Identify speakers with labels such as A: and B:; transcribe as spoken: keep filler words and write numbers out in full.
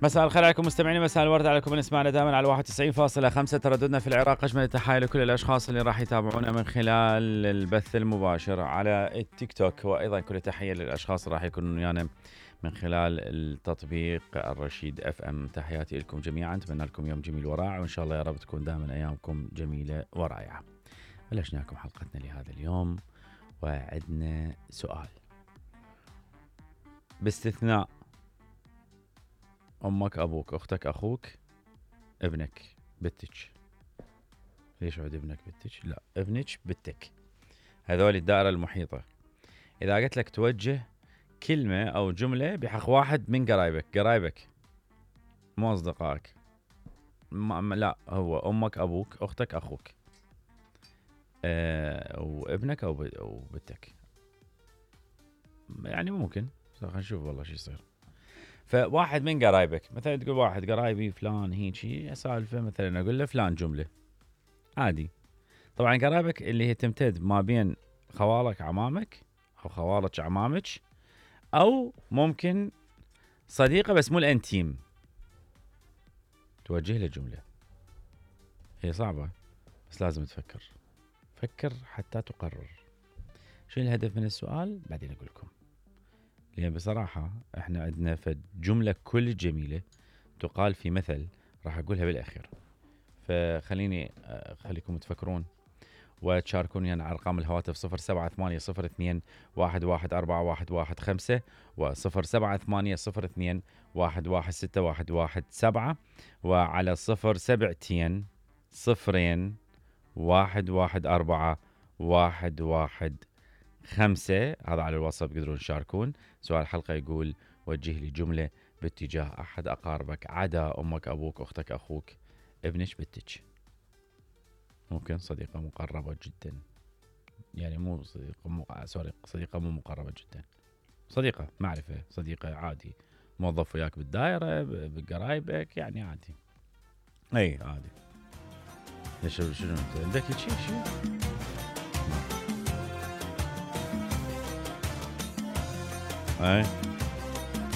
A: مساء الخير عليكم مستمعينا، مساء الورد عليكم من اسمعنا دائما على واحد وتسعين فاصلة خمسة ترددنا في العراق. اجمل التحايا لكل الاشخاص اللي راح يتابعونا من خلال البث المباشر على التيك توك، وايضا كل تحيه للاشخاص اللي راح يكونون ويانا من خلال التطبيق الرشيد اف ام. تحياتي لكم جميعا، اتمنى لكم يوم جميل ورائع، وان شاء الله يا رب تكون دائما ايامكم جميله ورائعه. بلشنا لكم حلقتنا لهذا اليوم وعندنا سؤال: باستثناء امك، ابوك، اختك، اخوك، ابنك، بنتك. ليش عود ابنك بنتك؟ لا، ابنك بنتك، هذول الدائره المحيطه. اذا قلت لك توجه كلمه او جمله بحق واحد من قرايبك، قرايبك مو اصدقائك، لا، هو امك، ابوك، اختك، اخوك، أه وابنك او بنتك، يعني ممكن خلينا نشوف والله شو يصير. فواحد من قرايبك، مثلا تقول واحد قرايبي فلان هيجي سالفه، مثلا اقول له فلان جمله عادي. طبعا قرايبك اللي هي تمتد ما بين خوالك عمامك او خوالك عمامك، او ممكن صديقه بس مو الانتيم، توجه له جمله. هي صعبه بس لازم تفكر، فكر حتى تقرر. شو الهدف من السؤال؟ بعدين اقول لكم. لأن بصراحة احنا عندنا فد جملة كل جميلة تقال في مثل راح اقولها بالاخير، فخليني خليكم تفكرون وتشاركوني على ارقام الهواتف صفر سبعة ثمانية صفر اثنين واحد واحد أربعة واحد واحد خمسة وصفر سبعة ثمانية صفر اثنين واحد واحد ستة واحد واحد سبعة، وعلى صفر سبعتين صفرين واحد واحد أربعة واحد واحد خمسة. هذا على الواتساب تقدرون تشاركون. سؤال الحلقة يقول: وجه لي جملة باتجاه أحد أقاربك عدا أمك، أبوك، أختك، أخوك، ابنك، بنتك. ممكن صديقة مقربة جدا، يعني مو صديقة مو سوري صديقة مو مقربة جدا، صديقة معرفة، صديقة عادي، موظف وياك بالدائرة، بقرايبك، يعني عادي. أي عادي. شنو شنو أنت عندك شيء شيء؟ أي